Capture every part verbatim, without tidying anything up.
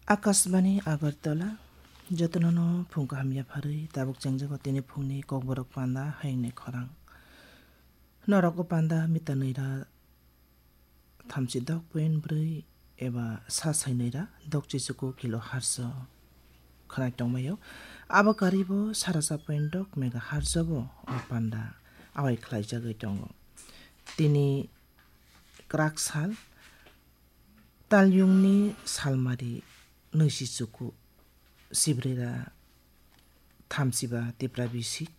Akashbani Agartala, jotono no phung kaham yapharwi tabuk chengjago tini phungni kokborok panda hayungni khorang. Norok o panda mita nwi ra thamchi dok point bwrwi eba sa sai nwi ra dok chichuku kilo harso khwnai tongmaio. Abo karibo sarasa point dok mega harso bo o panda awai khlaijagwi tongo. Tini kwrak sal, talyungni salmari nwi chichuku, sibrira thamchiba Tipra bisik,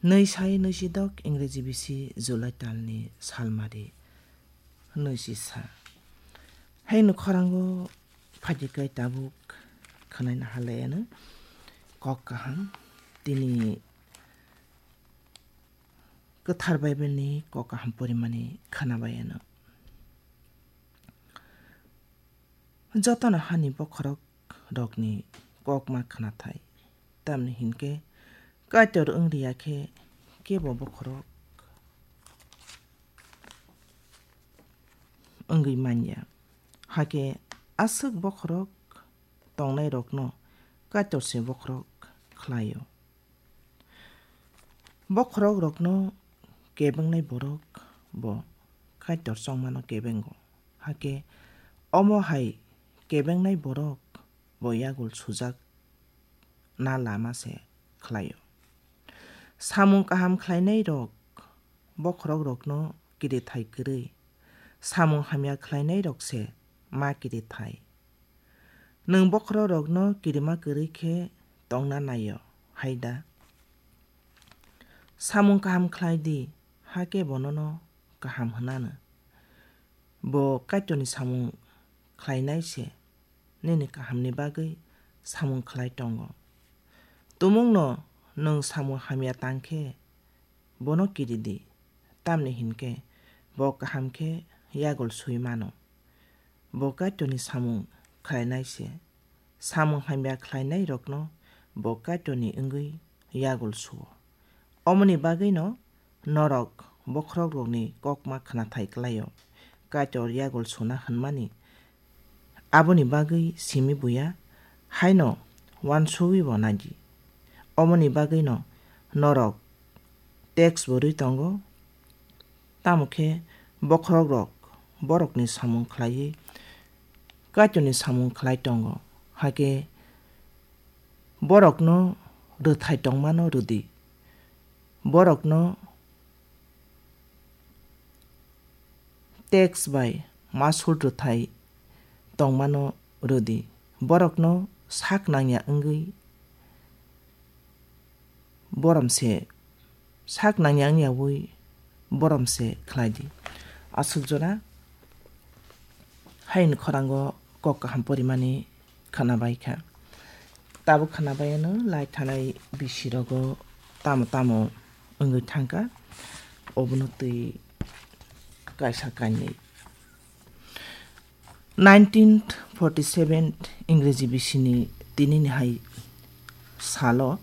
nwi sai nwi chidok Ingreji bisi July talni salmari nwi chisa. Haino khorango phajikai tabuk khwnaina halai ano kok kaham, tini kwthar Bible ni kok kaham porimani khwnabai ano. Jotono hani bokhorok rokni kokma khwnathai, tamni hinkhe Kaitor wng riya khe kebo bokhorok wngwi manya. Hakhe aswk bokhorok tongnairokno Kaitor se bokhorok khlaio. Bokhorok rokno kebengnai borok bo Kaitor chongmano kebengo. Hakhe omo hai kebengnai borok bo yagul sujak na lama se khlaio. Samung kaham khlainai rok bokhorok rokno kirithai kwrwi, samung hamya khlainai rok se ma kirithai. Nwng bokhorok rokno kirima kwrwi khe tongna naio, hai da? Samung kaham khlai di, hakhe bo nono kaham hwnano. Bo Kaitorni samung khlainai se, nini kahamni bagwi samung khlai tongo. Tumungno nwng samung hamya tang khe, bono kiri di, tamni hinkhe bo kaham khe yagul sui mano. Bo Kaitorni samung khlainai se, samung hamya khlainai rokno bo Kaitorni wngwi yagul suo. Omoni bagwino norok bokhorok rokni kokma khwnathai klaio, Kaitor yagul suna hwnmani. Aboni bagwi simi buya haino uansugwi bo nai di. Omoni bagwino norok tax bo rwi tongo, tamo khe bokhorok rok borokni samung khlaiwi Kaitorni samung khlai tongo, hakhe borokno rwthai tongmano rwdi. Borokno tax bai masul rwthai tongmano rwdi. Borokno sak nangya wngwi borom se, sak nangya wngyawi borom se khlai di. Aswk jora haini khorango kok kaham porimani khwnabai kha. Tabuk khwnabai ano lai thanai bisi rogo tamo tamo wngwi thangkha, obono twi kaisa kainwi. Nineteen forty seven Ingreji bisini tinini hai salo